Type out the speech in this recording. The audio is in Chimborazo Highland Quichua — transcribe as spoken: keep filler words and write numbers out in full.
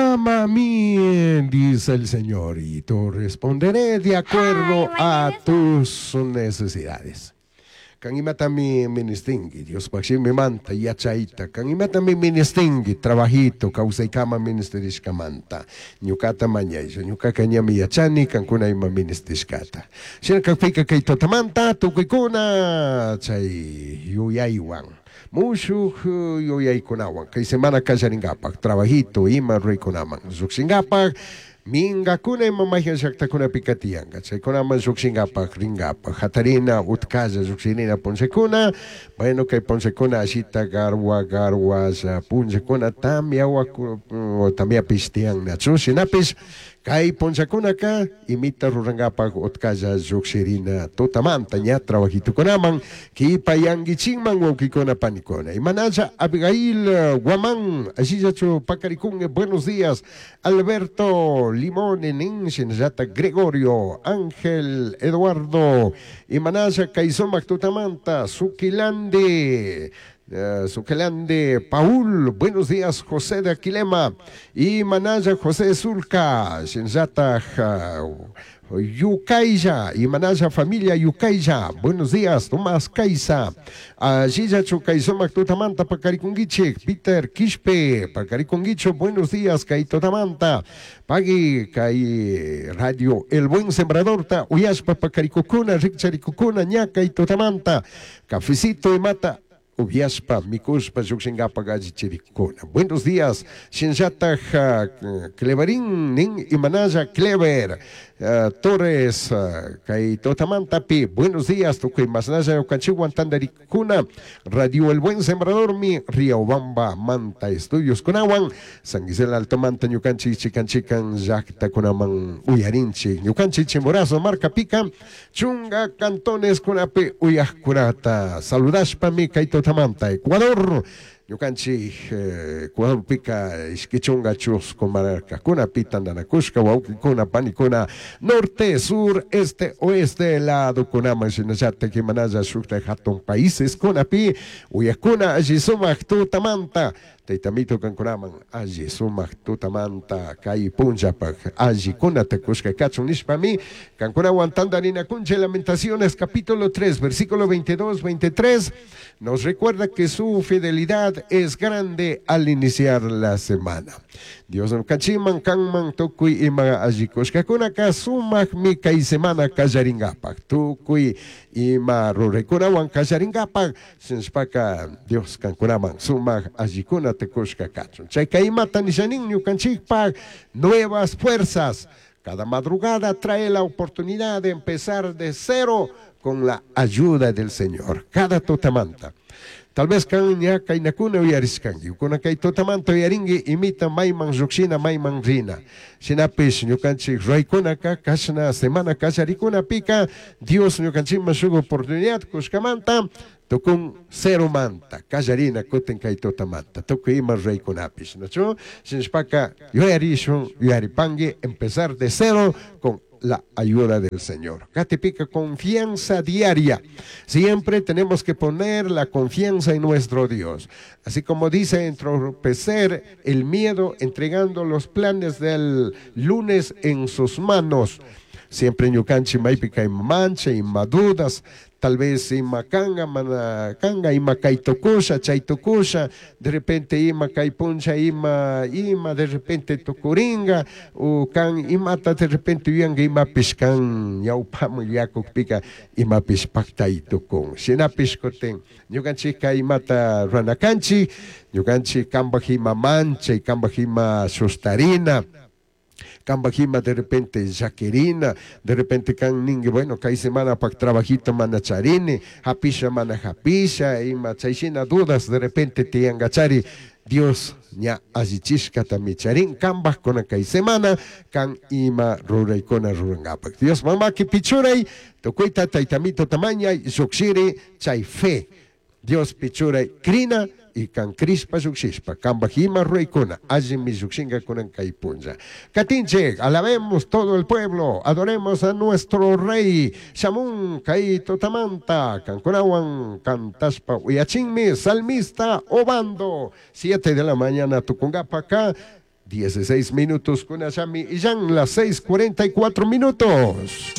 Clama a mí, dice el Señor, y te responderé de acuerdo a tus necesidades. Kan imatami ministinki, Diospaj shimimanta yachayta, kan imatami ministinki, trabajito, kawsaykama ministerishkamanta, ñukata mañaylla, ñukaka ñami yachani, kankuna ima ministishkata. Shina kakpika kay tutamanta tukuykuna chay yuyaywan, mushuj yuyaykunawan, kay semana kallarinkapak, trabajito ima ruraykunaman llukshinkapak, minkakuna ima mayhan llaktakunapika tiyanka, chaykunaman llukshinkapak rinkapak, hatarina utkalla llukshirina punllakuna, bueno kay punllakuna ashita garwa garwalla punllakuna tamia tamiapish tiyannachu, shinapish kay punllakunaka imita rurankapak utkalla llukshirina tutamanta ña trabajitukunaman kipayankichikman wawkikuna panikuna. Imanalla Abigail Guamán, ashillachu pakarikun, buenos días, Alberto Limón, nin, shinallata Gregorio, Ángel, Eduardo, imanalla kay sumak tutamanta, Suquilandi, Uh, Suquilande, Paul, buenos días, José de Aquilema, y Manaya José Zulca, shinallata uh, Yucaya, y Manaya familia Yucaya, buenos días, Tomás Caiza, Ashillachu kay sumak tutamanta pakarikunguichik, Peter Quispe, pakarikunguicho, buenos días, kay tutamanta, pagui kay radio El Buen Sembrador ta, uyashpa pakarikukuna, rikcharikukuna, ña kay tutamanta, cafecito y mata, upiashpa, mikushpa, llukshinkapak allichirikuna. Buenos días, shinllataj uh, Cleverín, nin imanalla Clever, uh, Torres, uh, kay tutamantapi, buenos días, tukuy masnalla ñukanchikwan tantarikuna, Radio El Buen Sembrador mi, Riobamba, Manta Estudios kunawan, San Gisela Alto Manta, ñukanchik chikan chikan llaktakunaman uyarinchik, ñukanchik Chimborazo, Marca Pica, chunga cantones kunapi uyajkunata, saludashpami kay tutamanta, Ecuador, ñukanchik Ecuadorpika ishki chunga chusku markakuna tantanakushka wawkikuna panikuna norte, sur, este, oeste ladokunaman shinallatak imanalla shukta hatun países kunapi uyakuna alli sumak tutamanta taytamito kankunaman alli sumak tutamanta kay punllapak allikunata kushka kachun nishpami kankunawan tantarinakunchik. Lamentaciones capítulo tres versículo veintidós, veintitrés nos recuerda que su fidelidad es grande al iniciar la semana. Dios ñukanchikman kanman tukuy ima alli kushkakunaka sumakmi kay semana kallarinkapak tukuy ima ruraykunawan kallarinkapak shinashpaka Dios kankunaman sumak allikunata kushka kachun. Chayka imata nishanin ñukanchikpak nuevas fuerzas. Cada madrugada trae la oportunidad de empezar de cero con la ayuda del Señor. Cada tutamanta. Tal vez kan ña kaynakuna uyarishkanki, kuna kay tutamanta uyarinki imita mayman llukshina mayman rina. Shinapish ñukanchik raykunaka kashna semana kallarikunapika Dios ñukanchikman shuk oportunidad kushkamanta tukun cero manta kallarina kutin kay tutamanta tukuy ima raykunapish, ¿nachu? Shinashpaka yuyarishun yuyaripanki empezar de cero con la ayuda del Señor. Catepica, confianza diaria. Siempre tenemos que poner la confianza en nuestro Dios. Así como dice, entorpecer el miedo entregando los planes del lunes en sus manos. Siempre ñukanchik maypika ima mancha, ima dudas, tal vez ima kanga, mana kanga, ima kay tukusha, chay tukusha, de repente ima kay puncha, ima, ima de repente tukuringa, o kan imata de repente yuyanka imapish kan ñawpaman yuyakukpika imapish paktay tukun. Shinapish kutin ñukanchikka imata ruranakanchik, ñukanchik kanpak ima manchay, kanpak ima sustarina, kanpak ima de repente llaquirina, de repente kan ninki, bueno, kay semana pak trabajito mana charini, hapisha mana hapisha, ima chayshina dudas de repente tiyankachari, Dios ña allichishkatami charin kanpak kuna kay semana, kan ima ruraykuna rurankapak. Dios mamaki pichuray, tukuyta taytamito tamañay, llukshiri, chay fe. Dios pichuray krina, y kan krishpa llukshishpa, kanpak ima ruraykuna, allimi llukshinka kunan kay punlla. Katinchik, alabemos todo el pueblo, adoremos a nuestro rey, Shamun kay tutamanta, kankunawan kantashpa uyachinmi, salmista Obando, siete de la mañana tukunkapa ka, Dieciséis minutos kunallami illan las seis cuarenta y cuatro minutos.